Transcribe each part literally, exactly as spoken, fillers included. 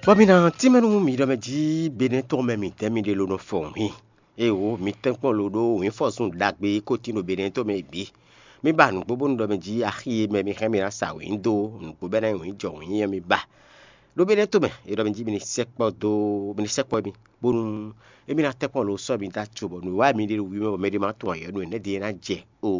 Bɔ mi ná tínmɛ nú mi ɖɔ mɛ jí Benɛ́ɛ tɔn mɛ mǐtɛn mi ɖe ló nɔ fɔ wǐin. Éeǒ, mi tɛ́nkpɔ́n lo ɖó wǐnfɔ́zun ɖagbe e ko tín ɖo Benɛ́ɛ tɔn mɛ é bǐ. Mi ba nǔgbó bónú ɖɔ mɛ jí axi e mɛ mi hɛn mi ná sa wǐin dó nǔgbó bɛ́ ná nyí wǐin jɔ wǐin ɔ́ mi ba. Ɖó Benɛ́ɛ tɔn mɛ, é ɖɔ mɛ jí mi ní sɛkpɔ́ dó mi ní sɛkpɔ́ mi, bónú émí ná tɛ́nkpɔ́n lo sɔ́ mi dó acu bɔ nǔwiwa mi ɖe ɖo wǐin mɛ bɔ mɛ ɖé ma tunwun ayɔ̌ nú énɛ́ ɖíe ná jɛ o.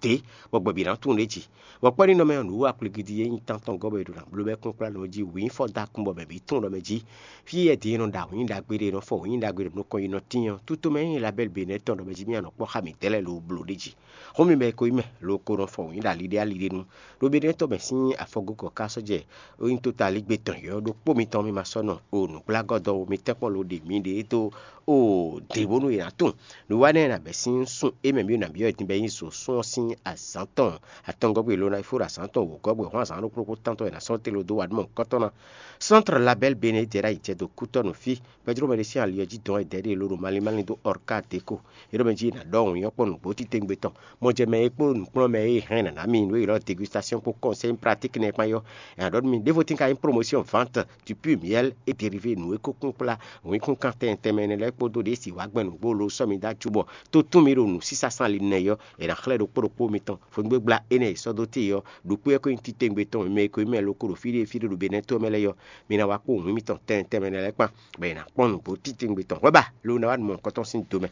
Dě, bɔ gbɛ̌ bǐ ná tunwun ɖě jí. Bɔ kpɔ́ ní nɔ mɛ ɔ́, nǔwiwa kplígídí e nyí tántɔn gɔ́ bɔ è ɖo ná bló bɔ é kún kplá nɔ jí wǐin fɔ dó akun bɔ mɛ bǐ tunwun ɖɔ mɛ jí. Fí e din e nɔ ɖo awǐin ɖagbe ɖe, è nɔ fɔ wǐin ɖagbe ɖe nukɔn yi nɔ tín ɔ́, tútú mɛ e nyí Labɛ́li Benɛ́ɛ tɔn ɖɔ mɛ jí mì nɔ kpɔ́ xá mǐ dɛ́ lɛ́ɛ lo bló ɖě jí. Xó mi mɛ e ko nyí mɛ, lo ko nɔ fɔ wǐin ɖo ali ɖé ali ɖé nu. Ɖo Benɛ́ɛ tɔn mɛ sín afɔgókɔ ka sɔ́ jɛ ó nyí tótalígbe tɔn yɔ̌yɔ́ ɖokpó mitɔn mì ma sɔ́ nɔ o nǔgblágɔ́dɔwó mi tɛ́nkpɔ́n lo ɖe mǐɖée dó o dě bónú è nǎ tunwun. Nǔwanɛ e nǎ bɛ́ sín sun e mɛ mì nǎ byɔ́ din bɔ é nyí zǒsún ɔ́ sín azǎn tɔn atɔngɔ́gbé lo ná fó ɖo azǎn tɔn wǒgɔ́gbé hɔn azǎn ɖokpó ɖokpó tántɔn è nǎ sɔ́ tló dó wa nú mɔ kɔ́tɔ́ ná. Centre Label Bénin jɛ ɖ'ayǐ jɛ dó kútɔ́ nǔ fí. Pɛ́dró mɛ ɖé sín ali ɔ́ jí dɔn wɛ dɛ̌ ɖé lóɖo malín malín dó Ɔrká Deko. É ɖɔ mɛ jí è nǎ ɖɔ wǔnyɔ́ kpɔ́n nǔgbó titewungbe tɔn. Mɔjɛmɛ e kpó nǔkplɔ́nmɛ e hɛn nǎ ná mi nǔ e ylɔ́ dégustation kpó conseil pratique nɛ́ kpán yɔ́. È nǎ ɖɔ nú mi ɖěvo tín ka nyí promotion vente du pur miel et dérivé nǔ e kó kún kplá wǐnkúnkan tɛntɛnmɛ énɛ́ lɛ́ɛ kpódó ɖě si wǎ gbɛn nǔgbó lo sɔ́ mi dó acu bɔ tó tún mi ɖo nǔsísá sán ali nɛ yɔ́. È nǎ xlɛ́ ɖokpó ɖokpó mitɔn. Fɔngbégbla énɛ́ e sɔ́ dó te ɔ́, ɖo kpé ɔ́ ko nyí titewungbe tɔn mɛ e ko nyí mɛ lo ko ɖo fí ɖé fí ɖé ɖo Benɛ́ to ɔ́ mɛ lɛ́ɛ yɔ́. Mi ná wá kpó wǐn mitɔn tɛnmɛ tɛnmɛ lɛ́ɛ kpán, bɔ è nǎ kpɔ́n nǔgbó titewungbe tɔn hwɛ̌ ba lo ná wá nǔ mɔ̌hunkɔtɔn sín do mɛ.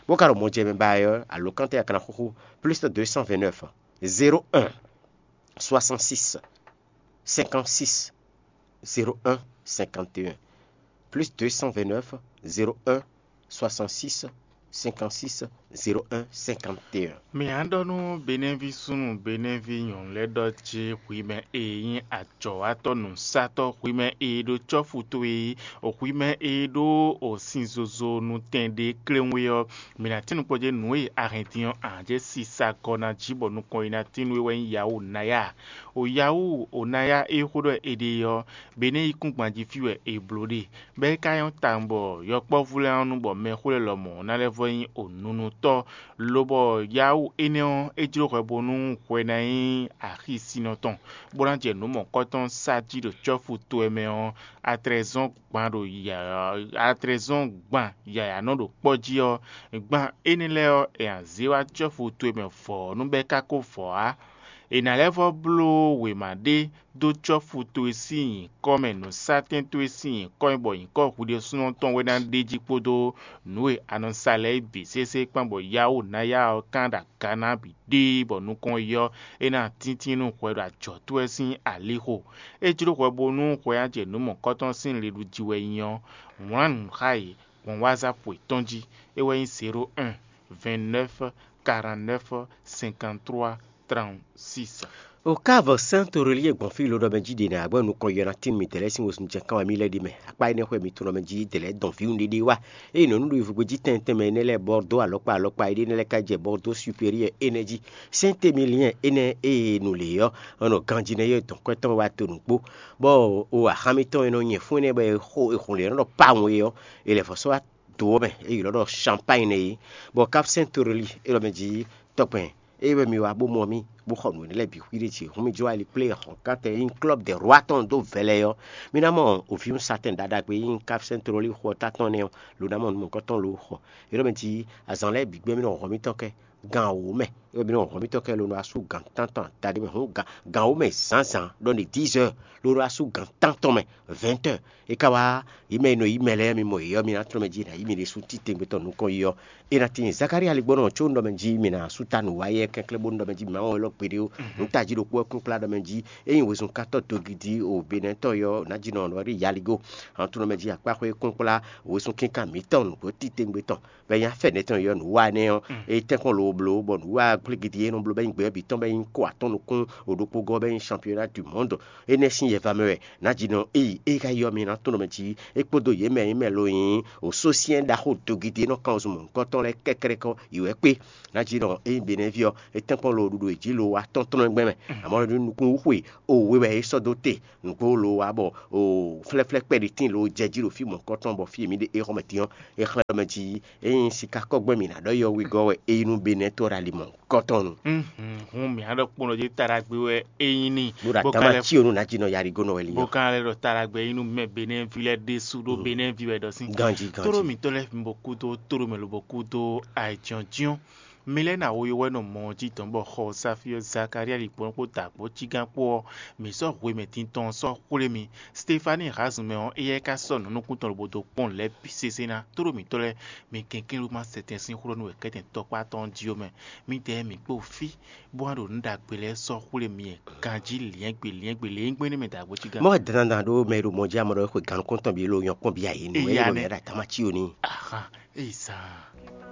Bó ka ɖo mɔjɛmɛ ba ɛ ɔ́, alǒkantɛ akana xúxú plus de deux cent vingt-neuf, zéro un, soixante-six, cinquante-six, zéro un, cinquante et un, plus deux cent vingt-neuf, zéro un, soixante-six, cinquante-six, zéro un, cinquante et un. Mǐ á ɖɔ nú Benɛ́ví súnnu Benɛ́ví nyɔ̌nu lɛ́ɛ ɖɔ jí hwi mɛ e nyí ajɔ̌watɔ́ nǔsatɔ́, hwi mɛ e ɖó cɔ́fu towe, hwi mɛ e ɖó o sin zozo nutɛn ɖé kléwún é ɔ́, mǐ ná tín nukpɔ́ jɛ nǔ e a hɛn din ɔ́, a nǎ jɛ sisa gɔ́ ná jí bɔ nukɔn yi ná tín nú we wɛ nyí Yawu Naya. O Yawu o Naya e xó ɖɔ è ɖe ɔ́, Benɛ́ yíkúngban jí fí wɛ è blǒ ɖe. Bɔ é ka nyɔ́ tawun bɔ yɔkpɔ́vú lɛ́ɛ ɔ́ nu bɔ mɛxó lɛ́ɛ lɔmɔ̌ ná lɛ́ vɔ́ nyí onunutɔ́, lobɔ Yawu énɛ́ ɔ́, é jló hwɛ bónú hwɛ ná nyí axisinnɔ tɔn, bó ná jɛ nǔ mɔ̌kɔ́tɔn sa jí ɖo cɔ́fu towe mɛ ɔ́, atlɛzɔ́n gban ɖo yǎyá atlɛzɔ́n gban yǎyá nɔ ɖo kpɔ́ jí ɔ́, gban énɛ́ lɛ́ɛ ɔ́, è nǎ zé wá cɔ́fu towe mɛ vɔ̌ nú bɔ é ka ko vɔ̌ ǎ. È nǎ lɛ́ vɔ́ bló wěma ɖé dó cɔ́fu towe sín nyǐkɔ mɛ, nǔsatɛn towe sín nyǐkɔ mɛ, bɔ nyǐkɔ hwi ɖésúnɔ tɔn wɛ ná ɖe jí kpódó nǔ e a nɔ sa lɛ́ɛ é bǐ sésé kpán, bɔ Yawu Naya ɔ́ kán ɖo aga ná bǐ ɖéé, bɔ nukɔn yi ɔ́, é ná tíntín nú hwɛ ɖo ajɔ̌ towe sín alixo. É jló hwɛ bónú hwɛ ná jɛ nǔ mɔ̌kɔ́tɔn sín liɖují wɛ nyí ɔ́, wlán nǔ xá yě gbɔn WhatsApp yětɔn jí. É wɛ nyí zéro un, vingt-neuf, quarante-neuf, cinquante-trois, trente-six. O ká vɔ sɛ́n to ɖo lí e gbɔn fí lo ɖɔ mɛ jí ɖe nɛ agbɔ́ nukɔn yɔ ná tín mi dɛ̌ lɛ́ɛ sín wezun jɛ kán wɛ mì lɛ́ ɖi mɛ. Akpá énɛ́ xwɛ mi tunɔ mɛ jí dɛ̌ lɛ́ɛ dɔn vǐwun ɖéɖé wá. Ényí nɔ nú ɖo yivugbe jí tɛntɛn mɛ énɛ́ lɛ́ɛ bɔ dó alɔkpa alɔkpa éɖée énɛ́ lɛ́ɛ ka jɛ bɔ dó superieur énɛ́ jí. Sɛ́n te mi liɛn énɛ́ ée nu lě ɔ́, nɔ ganjí nɛ́ yɔ dɔn kwɛ́ tɔn wá to nǔgbó. Bɔ o axán mitɔn e nɔ nyɛ fún énɛ́ bɔ è xo è xun lě nɔ ɖɔ pawun é ɔ́, è lɛ̌ vɔ̌ sɔ́ wá do ɔ́ mɛ, é ylɔ́ ɖɔ Champagne nɛ́ é. Bɔ Cap Saint Torelli é ɖɔ mɛ jí tɔkpɛn é wɛ mi wá bó mɔ mì, bó xɔ nǔ énɛ́ lɛ́ɛ bǐ xwíɖé ce hǔn mi jó ali kplé xɔ̌nkántɛn e nyí Club des Rois tɔn dó vɛlɛ ɔ́, mi ná mɔ òvǐwun satɛn ɖaɖagbe e nyí Cap Saint Torelli xɔ ɔ́ tátɔn nɛ́ ɔ́, lo ná mɔ nǔ mɔ̌kɔ́tɔn lo xɔ. É ɖɔ mɛ jí azǎn lɛ́ɛ bǐ gbɛ́ mì nɔ hɔn mitɔn kɛ gan wǒ mɛ, é wɛ mì nɔ hɔn mitɔn kɛ lo nɔ asú gan tántɔn adaɖé mɛ hǔn gan gan wǒ mɛ zǎnzǎn ɖɔ ní dix heures, lo nɔ asú gan tántɔn mɛ, vingt heures. É ka wá yi mɛ e nɔ yi mɛ lɛ́ɛ mi mɔ yě ɔ́, mi ná tlɔ́ mɛ jí è nǎ yí mi ɖésú titewungbe tɔn nukɔn yi ɔ́. É ná tíin Zakalía ligbɔ́nɔ có un ɖɔ mɛ jí mi ná sú ta nǔ wá yɛ kɛnklɛ́n bónú ɖɔ mɛ jí mi má wɔn élɔ́ gbeɖé ó. Nǔ tají ɖokpó wɛ kún kplá ɖɔ mɛ jí ényí wezun katɔ́ dogidi o Benɛ́tɔn yɔ ná jí nɔ nɔ rí yaligo. Hɔn tó nɔ mɛ jí akpáxwé kún kplá wezun kínkan mǐtɔn nǔgbó titewungbe tɔn. Bɔ é nyí afɛ́ nɛ́ tɔn yɔ nǔ wa énɛ́ ɔ́, é tɛ́nkpɔ́n lobo bló bɔ nǔ wa gblégidi e nɔ bló bɔ é nyí gbɛ̌ bǐ tɔn bɔ é nyí kó atɔ́ nukún o ɖokpó gɔ́ bɔ é nyí championnat du monde. Énɛ́ sín yɛva mɛ wɛ nǎ jí nɔ éyi é ka yɔ mi ná tɔn mɛ jí é kpódó yě mɛ e mɛ lo nyí o sósyɛ́n ɖaxó dogidi e nɔ kan zun mɔ̌hunkɔtɔn lɛ́ɛ kɛ́kɛ́kɛ́ yi wɛ kpé. Nǎ jí nɔ ényí Benɛ́ví ɔ́, é tɛ́nkpɔ́n lo ɖuɖu e jí lo wa tɔn tɔn gbɛn mɛ. Amɔ̌ nukún wú xwe o we wɛ é sɔ́ dó te nǔgbó lo wa bɔ o flɛ́flɛ́ kpɛɖi tíin lo jɛ jí ɖo fí mɔ̌hunkɔtɔn bɔ fí e mǐ ɖe é xɔ mɛ din ɔ́, é xlɛ́ ɖɔ mɛ jí ényí sikákɔ́gbɛ́n mǐ ná ɖɔ yɔwigɔ́ wɛ é yi nú Benɛ́ Ɛ tó ɖo ali mɔ kɔtɔn nu. Hun mǐ á ɖɔ kpɔ́n jí taɖagbe wɛ é nyí n'i. Bó ɖo atama tí o nu ná jí nɔ yarigo nɔ wɛ li. Bó ka lɛ́ ɖɔ taɖagbe é nyí nú mɛ Benɛ́vi lɛ́ɛ ɖésú ɖó Benɛ́vi wɛ ɖɔ sín. Ganjí ganjí. Tóɖó mǐtɔn lɛ́ɛ mi bɔ kúdó tóɖó mɛ lobɔ kúdó ayǐjɔ́njɔ́n. Mi lɛ́ɛ ná wo yowɛ́nɔ mɔ ɔ́ jí dɔn bɔ xɔ Safyɔ́ Zakalía ɖi kpɔ́n kpó da kpó cí gán kpó ɔ́, mǐ sɔ́ hwemɛ tintɔn ɔ́ sɔ́ xwlé mi. Stefani Hazunmɛ ɔ́, éyɛ́ ka sɔ́ nǔ nukún tɔn lobo dó kpɔ́n nǔ lɛ́ɛ bǐ sésé ná. Tóɖó mǐtɔn lɛ́ɛ, mi kɛnklɛ́n ɖó má sɛtɛn sín xó ɖɔ nú wɛ kɛ́tɛn tɔkpá tɔn jí ɔ́ mɛ. Mǐdɛɛ mǐ kpó fí, bó wá ɖo nǔ ɖagbe lɛ́ɛ sɔ́ xwlé mi ganjí liɛ́ngbe liɛ́ngbe lě e nyí gbɛ́ nɛ́ mɛ dǎgbó cí gán. Mɔ dandan ɖó mɛ e ɖo mɔ jí amɔ ɖɔ xwe gǎn nukɔntɔn bǐ lo nyɔ́ kpɔ́n bǐ ayé nu Eya ɛ nɛ́. Ɖo yɛ ɖo atama tí o ní. Ahan, eyi zan.